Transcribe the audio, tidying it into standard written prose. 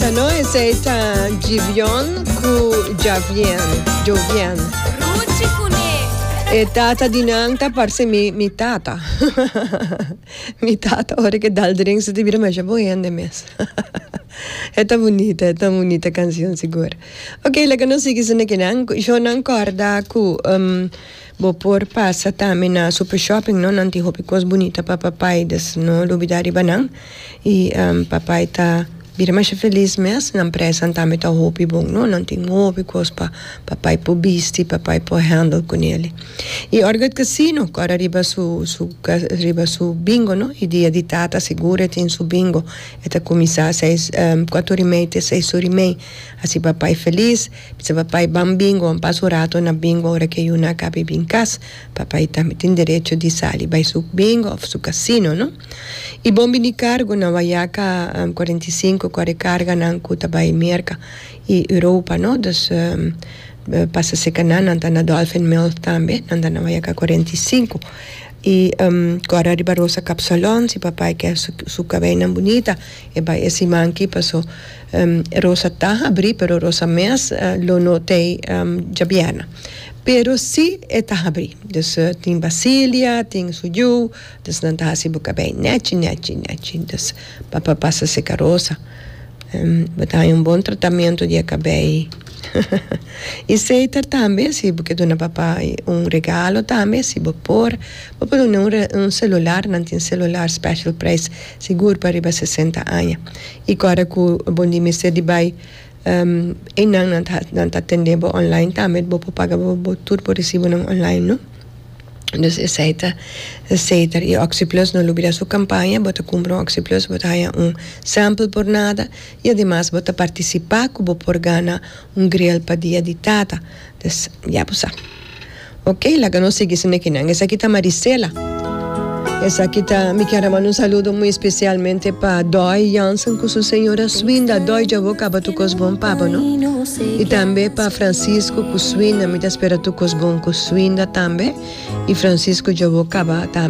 bunita, no? Esei ta Givion ku Javien, Jovien. Ruchi kuné. E tata di nan ta parse mi, mi tata. Mi tata ora ke dal drink su ta bira masha bon hende mes. E ta bunita, e ta un bunita kanshon sigur. Ok, laga nos sigui su nekinan. Shownan kòrda ku bo por pasa tambe na Super Shopping, no? Nan tin hopi kos bunita pa papai, dus no lubida riba nan. I papai ta bira masha felis mes, nan prijsnan tambe ta hopi bon, no? Nan tin hopi kos pa papai por bisti, papai por handle kunele. I Orchid Casino kòrda riba su su riba su bingo, no? I dia di tata sigur e tin su bingo. E ta kuminsá seis kuater ora i mei te seis ora i mei. Hasi papai felis, bisa papai ban bingo, ban pasa un rato na bingo ora ke yuna a kaba i bin kas. Papai tambe tin derecho di sali bai su bingo òf su kasino, no? I bon bini kargo na Wayaca 45 ku a rekarga nan ku ta bai Merka i Europa no dus pasa seka nan nan ta na Dolphin Mill tambe nan ta na Wayaca 45 i ku a riba Rosa Kapsalon si papai ke su kabeinan bunita e bai e siman aki paso Rosa ta habri pero Rosa mes lo no tei djabièrnè pero si e ta habri dus tin Basilia tin su yu. Dus nan ta hasi bo kabei nechi nechi nechi. Dus papa pasa seka rosa. Bo ta haña un bon tratamiento di e kabei. I seiter tambe si bo ke duna papa un regalo tambe si bo por bo por duna un un celular nan tin celular special prijs sigur pa riba sesenta aña. I kòrda ku bo di mester di bai einan nan ta nan ta atende bo online tambe bo por paga bo tur bo resibonan online no. Dus esei ta zeker. I OxyPlus no lubida su kampaña, bo ta kumpra un OxyPlus bo ta haña un sample por nada i ademas bo ta partisipá ku bo por gana un grill pa dia di tata. Dus ya bo sa. Ok, laga nos sigui su nekinan. Esaki ta Marisela. Esaki ta, mi kier a manda un saludo muy especialmente pa Doy Jansen ku su señora Swinda. Doy dja bo kaba tur kos bon pa bo no. I tambe pa Francisco ku Swinda, mi ta spera tur kos bon ku Swinda tambe. I Francisco dja bo kaba tambe.